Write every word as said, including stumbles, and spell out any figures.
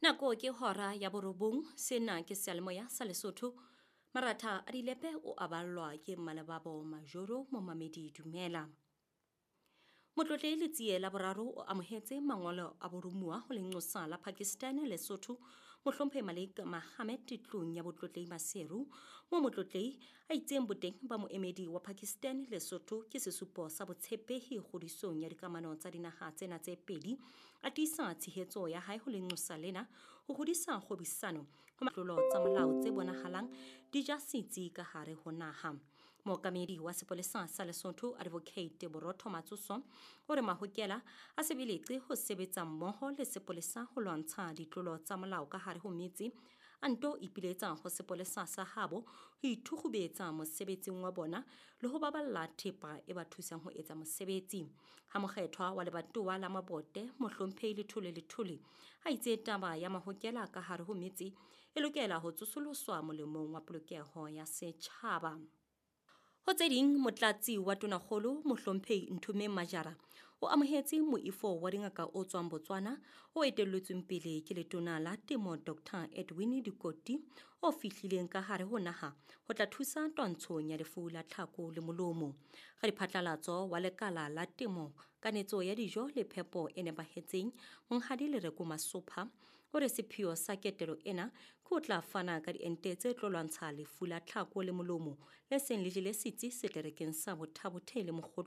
Nako ke hora ya borobong, sena ke seyalemoya sa Lesotho. Maratha a dilepe o aballwa ke Mmalebabo Majoro Momamedi Dumela. Motlotlehi Letsie la boraro o amohetse mangolo a boromuwa ho lenqosa la Pakistan Lesotho Mohlomphehi Malik Mohammed tlung ya Botlotlehi Maseru, moo motlotlehi a itseng boteng ba moemedi wa Pakistan Lesotho ke sesupo sa botshepehi kgodisong ya dikamano tsa dinaha tsena tse pedi. A tiisa tshehetso ya hae ho lenqosa lena ho hodisa kgwebisano ho matlolo tsa molao tse bonahalang di ja setsi ka hare ho naha. Mookamedi wa sepolesa sa Lesotho Advocate Borotho Matsoso o re mahokela a sebeletse ho sebetsa mmoho le sepolesa ho lwantsha ditlolo tsa molao ka hare ho metse, a nto ipiletsa ho sepolesa sa habo ho ithukgubetsa mosebetsing wa bona le ho baballa thepa e ba thusang ho etsa mosebetsi. Ha mokgethwa wa lebatowa la Mabote Mohlomphehi Lethole Lethole a itse taba ya mahokela ka hare ho metse e lokela ho tsosoloswa molemong wa polokeho ya setjhaba. Ho tse ding, motlatsi wa Tonakgolo Mohlomphehi Nthomeng Majara o amohetse moifo wa dingaka o tswang Botswana o etelletsweng pele ke letona la temo Doctor Edwin Dikoti o fihlileng ka hare ho naha ho tla thusa twantshong ya lefu la tlhako le molomo. Radiphatlalatso wa lekala la temo, kanetso ya dijo le phepo e nepahetseng Monghadi Lereko Masopha o re sepheo sa ketelo ena ke ho tla fana ka diente tse tlo lwantsha lefu la tlhako le molomo le seng le jele setsi seterekeng sa Botha-Bothe le Mokgotlong.